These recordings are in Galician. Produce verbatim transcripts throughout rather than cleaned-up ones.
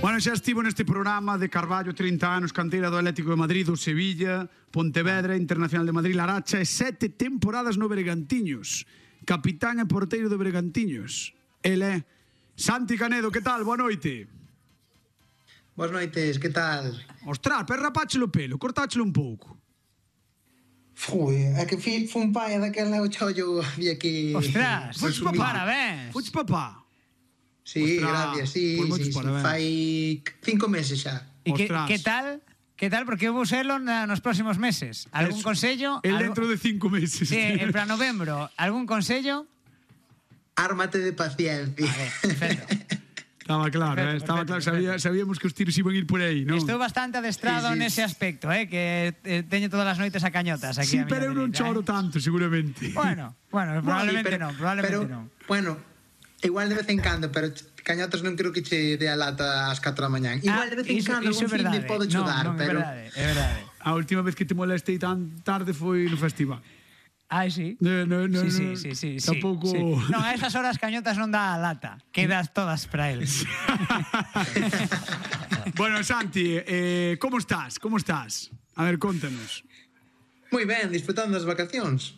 Bueno, xa estivo neste programa de Carballo, trinta anos, canteira do Atlético de Madrid, do Sevilla, Pontevedra, Internacional de Madrid, Laracha e sete temporadas no Bergantiños. Capitán e porteiro do Bergantiños. Ele é Santi Canedo, que tal? Boa noite. Boas noites, que tal? Ostras, pero rapáchelo o pelo, cortáchelo un pouco. Fui, é que fui un pai daquela o chollo había que... Ostras, Fuches papá. Parabéns. Fuches papá. Sí, Ostras, gracias, sí, pois sí, sí, parabéns. fai cinco meses xa. E que, Ostras. que tal? Que tal? Porque eu vou selo na, nos próximos meses. Algún Eso. consello? El Algo- dentro de cinco meses. Sí, en para novembro. Algún consello? Ármate de paciencia. Vale, perfecto. Estaba claro, Perfecto, eh, estaba perfecto, claro, sabía, perfecto. sabíamos que os tiros iban a ir por aí, non? Estou bastante adestrado Sí, sí. nese aspecto, eh, que eh, teño todas as noites a cañotas aquí Sí, a miña pero eu non dereita, choro eh. tanto, seguramente. Bueno, bueno, probablemente Sí, pero- non, probablemente pero, non. Bueno, igual de vez en cando, pero cañotas non creo que che dé a lata ás catro da mañán. Igual de vez en iso- cando iso un é fin de verdade. pode Non, chudar, non, é pero... verdade, é verdade. A última vez que te molestei tan tarde foi no festival. Ai, sí. No, no, no, sí, sí, no. sí, sí, sí, Tampouco- sí. Non, a esas horas cañotas non dá a lata. Quedas todas para él. Bueno, Santi, eh, como estás? Como estás? A ver, contanos. Moi ben, disfrutando das vacacións.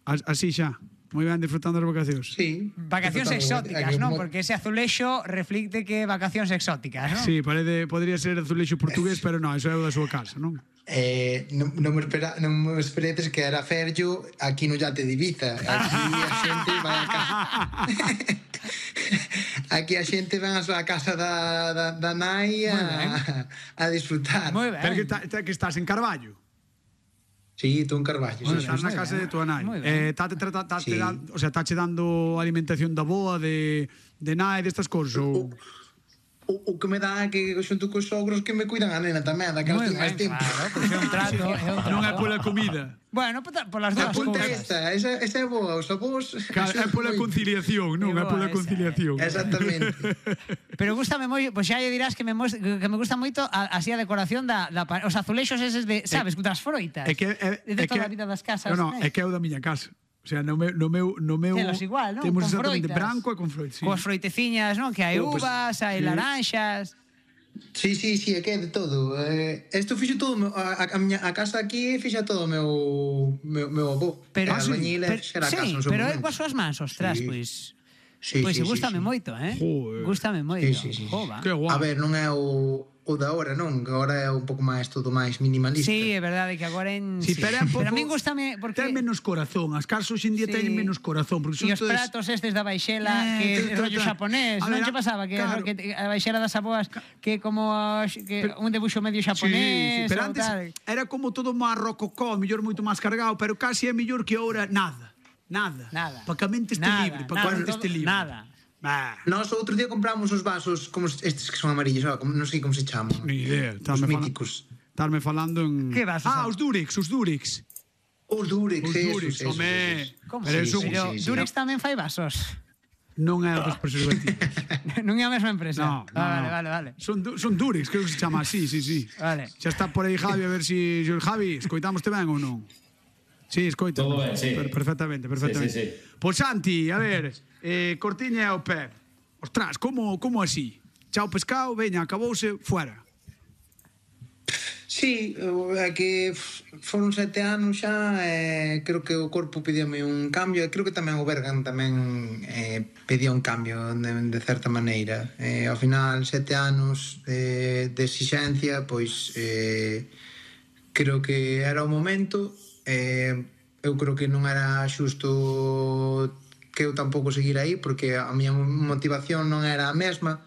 As- Así xa. Moi ben, disfrutando das vacacións. Sí. Vacacións Disfrutando- exóticas, aquí non? mo- Porque ese azulexo reflicte que vacacións exóticas, non? Sí, parece, podría ser azulexo portugués, pero non, eso é o da súa casa, non? Eh, non, non me espera, non me esperetes que era Ferllo aquí no yate de Ibiza. Aquí a xente vai a casa. Aquí a xente van a súa casa da, da, da nai Moi ben. a, a disfrutar. Moi ben. Pero que, ta, ta- que estás en Carballo. Sí, tú en Carballo. Bueno, Sí, estás sí, na moi casa ben. de tua nai. Moi ben. Eh, tate, trata, tate, Sí. dan, o sea, tache dando alimentación da boa, de, de nai, destas cousas, ou... O, o que me dá é que xunto cos sogros que me cuidan a nena tamén, daquelas Moi ten máis ben, tempo. claro, pois é un trato, é un trato. Non é pola comida. Bueno, por, por las A dúas punta cousas. esta, esa, esa é boa, os avós... Claro, é pola conciliación, non? É boa pola esa, conciliación. Exactamente. Pero gústame moi, pois xa lle dirás que me mos- que me gusta moito a, así a decoración da, da pa- os azulexos eses de, sabes, das froitas. É que é, de é toda que, a vida das casas. No, no, né? é que é o da miña casa. O sea, no meu no meu no meu Telos igual, non? Temos Con exactamente froitas. branco e con froitas, sí. Coas froiteciñas, non? Que hai Oh, pues, uvas, hai sí. laranxas. Sí, sí, sí, é que é de todo. Eh, isto fixo todo, o meu- a, a, miña, a casa aquí fixa todo o meu, meu, meu avó. Pero, a albañil pero, xera a sí, casa no seu pero é momento. coas súas mans, ostras, Sí. pois... Sí, Pois sí, sí, gústame sí, sí. moito, eh? Joder. Gústame moito. Sí, sí, sí. Jova. Que guai. A ver, non é o, o da hora, non? Que agora é un pouco máis, todo máis minimalista. Sí, é verdade que agora en... Sí, pero é un pouco, a min gústame porque... ten menos corazón. As casas hoxe en día Sí. teñen menos corazón, porque E son os todas... pratos estes da baixela Eh, que ta, é ta, rollo ta. xaponés, A non ver, che pasaba que, claro. que a baixela das aboas que como as- que un debuxo medio xaponés, Sí, sí, pero ou antes tal. era como todo máis rococó, mellor moito máis cargado, pero casi é mellor que ahora nada. Nada. Nada. Para que a mente este Nada, libre, para que a nada, mente todo- este libre. nada. Bah, Nós outro día compramos os vasos como estes que son amarillos, ah, como, non sei como se chaman. ni idea. Os Estarme fala- míticos. Estarme falando en... Que vasos Ah, son? os Durex, os Durex. Os Durex, Os esos, Durex, esos, home. esos. Como? Pero Sí, eso- sí, Pero sí, sí. Durex tamén fai vasos. Non é dos preservativos. non é a mesma empresa. No, no, ah, vale, no. vale, vale. Son, du- son Durex, creo que se chama así, sí, sí. Vale. Xa está por aí Javi, a ver si... si Javi, escoitámoste ben ou non? Sí, escoita. Todo ben, sí. Per- perfectamente, perfectamente. Sí, sí, sí. Pois Santi, a ver, eh, cortiña ao pé. Ostras, como, como así? Chao pescado, veña, acabouse, fuera. Sí, é que foron sete anos xa, e creo que o corpo pedíame un cambio, e creo que tamén o Bergan tamén eh, pedía un cambio de, de certa maneira. Eh, ao final, sete anos de, de exixencia, pois eh, creo que era o momento, eh, eu creo que non era xusto que eu tampouco seguir aí, porque a miña motivación non era a mesma,